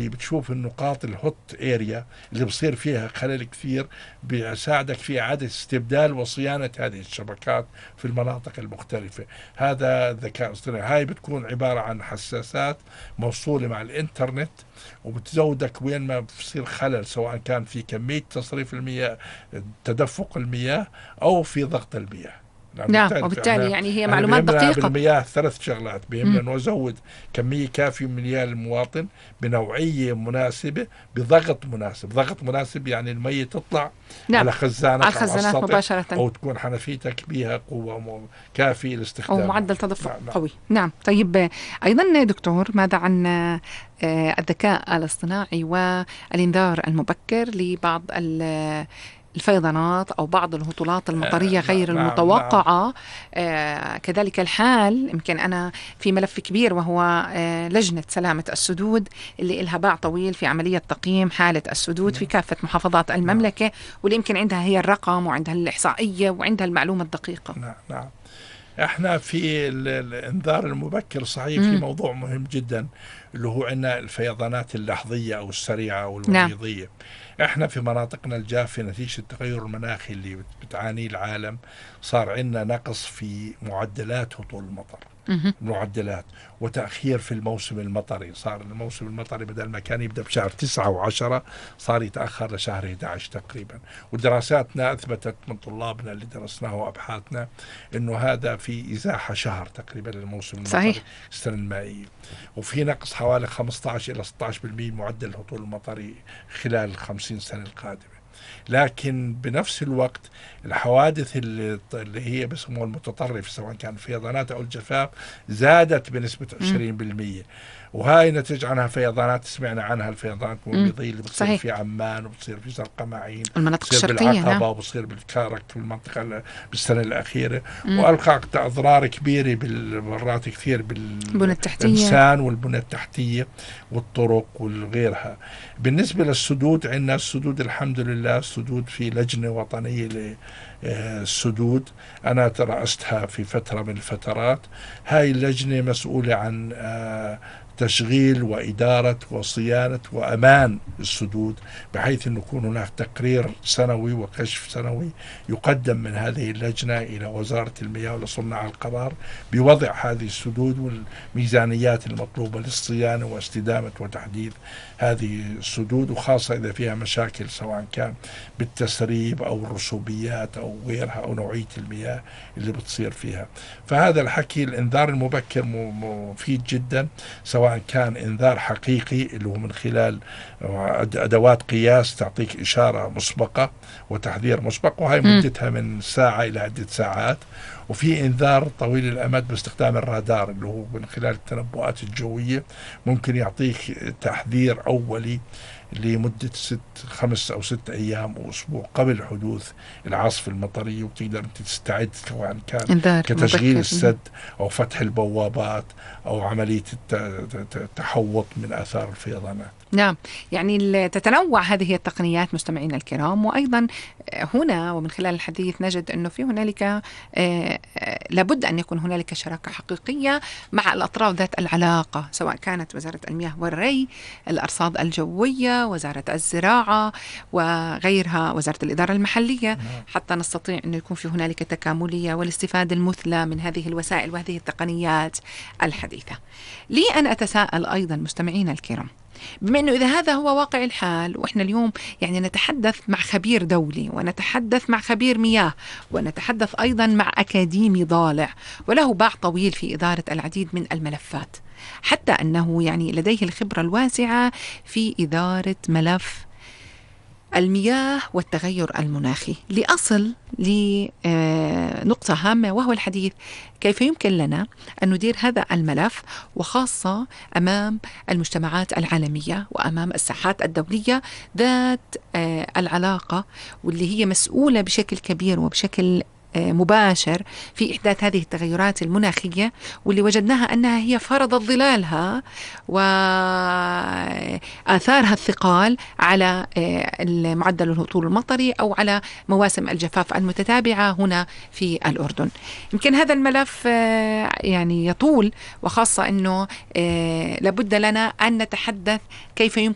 بتشوف النقاط الهوت اريا اللي بصير فيها خلل كثير، بيساعدك في إعادة استبدال وصيانة هذه الشبكات في المناطق المختلفة. هذا الذكاء الاصطناعي. هاي بتكون عبارة عن حساسات موصولة مع الإنترنت، وبتزودك وين ما بصير خلل، سواء كان في كمية تصريف المياه، تدفق المياه، أو في ضغط المياه. نعم، وبالتالي يعني هي معلومات دقيقة. بالمياه 3 شغلات: بيهمنا أنه أزود كمية كافية من المياه للمواطن بنوعية مناسبة بضغط مناسب. ضغط مناسب يعني المية تطلع نعم. على خزانك على الخزانات مباشرة، أو تكون حنفيتك بها قوة كافية لاستخدامها، أو معدل تدفق قوي. نعم. طيب أيضا دكتور، ماذا عن الذكاء الاصطناعي والإنذار المبكر لبعض الفيضانات أو بعض الهطولات المطرية غير المتوقعة؟ كذلك الحال، يمكن أنا في ملف كبير وهو لجنة سلامة السدود اللي إلها باع طويل في عملية تقييم حالة السدود في كافة محافظات المملكة، واللي يمكن عندها هي الرقم وعندها الإحصائية وعندها المعلومة الدقيقة. نعم. احنا في الانذار المبكر صحيح في موضوع مهم جدا اللي هو عندنا الفيضانات اللحظية أو السريعة أو الوقيضية. نعم. احنا في مناطقنا الجافة نتيجة التغير المناخي اللي بتعانيه العالم صار عندنا نقص في معدلات هطول المطر، معدلات، وتأخير في الموسم المطري. صار الموسم المطري بدل ما كان يبدأ بشهر 9 و10 صار يتأخر لشهر 11 تقريبا. ودراساتنا أثبتت من طلابنا اللي درسناه وأبحاثنا إنه هذا في إزاحة شهر تقريبا للموسم المطري السنة المائية، وفي نقص حوالي 15 إلى 16% معدل الهطول المطري خلال 50 سنة القادمة. لكن بنفس الوقت الحوادث اللي هي بسموها المتطرف، سواء كان الفيضانات أو الجفاف، زادت بنسبة 20%. وهاي نتج عنها فيضانات سمعنا عنها، الفيضانات الوقيضية اللي بتصير في عمان وبتصير في زرقاء معين، المناطق بتصير الشرقية، بالعقبة، وبتصير بالكارك في المنطقة بالسنة الأخيرة، وألقت أضرار كبيرة بالمرات كثير بالإنسان والبنى التحتية والطرق وغيرها. بالنسبة للسدود، عندنا السدود الحمد لله السدود في لجنة وطنية للسدود أنا ترأستها في فترة من الفترات. هاي اللجنة مسؤولة عن تشغيل وإدارة وصيانة وأمان السدود، بحيث أن يكون هناك تقرير سنوي وكشف سنوي يقدم من هذه اللجنة إلى وزارة المياه ولصناع القرار بوضع هذه السدود والميزانيات المطلوبة للصيانة واستدامة وتحديث هذه السدود، وخاصة إذا فيها مشاكل سواء كان بالتسريب أو الرسوبيات أو غيرها أو نوعية المياه اللي بتصير فيها. فهذا الحكي الإنذار المبكر مفيد جدا، سواء كان إنذار حقيقي اللي هو من خلال أدوات قياس تعطيك إشارة مسبقة وتحذير مسبق، وهي مدتها من ساعة إلى عدة ساعات. وفي إنذار طويل الأمد باستخدام الرادار اللي هو من خلال التنبؤات الجوية، ممكن يعطيك تحذير أولي لمدة 5 أو 6 أيام أو أسبوع قبل حدوث العاصفة المطرية، وتقدر أنت تستعد سواء كان كتشغيل السد أو فتح البوابات أو عملية التحوط من آثار الفيضانات. نعم، يعني تتنوع هذه التقنيات مستمعينا الكرام. وأيضا هنا ومن خلال الحديث نجد أنه في هنالك لابد أن يكون هنالك شراكة حقيقية مع الأطراف ذات العلاقة، سواء كانت وزارة المياه والري، الأرصاد الجوية، وزارة الزراعة وغيرها، وزارة الإدارة المحلية، حتى نستطيع أن يكون في هنالك تكاملية والاستفادة المثلى من هذه الوسائل وهذه التقنيات الحديثة. لي أن أتساءل أيضا مستمعينا الكرام، بما أنه إذا هذا هو واقع الحال، وإحنا اليوم يعني نتحدث مع خبير دولي ونتحدث مع خبير مياه ونتحدث أيضا مع أكاديمي ضالع وله باع طويل في إدارة العديد من الملفات، حتى أنه يعني لديه الخبرة الواسعة في إدارة ملف المياه والتغير المناخي، لأصل لنقطة هامة وهو الحديث كيف يمكن لنا أن ندير هذا الملف، وخاصة أمام المجتمعات العالمية وأمام الساحات الدولية ذات العلاقة واللي هي مسؤولة بشكل كبير وبشكل مباشر في إحداث هذه التغيرات المناخية، واللي وجدناها أنها هي فرضت ظلالها وآثارها الثقال على معدل الهطول المطري أو على مواسم الجفاف المتتابعة هنا في الأردن. يمكن هذا الملف يعني يطول، وخاصة أنه لابد لنا أن نتحدث كيف يمكن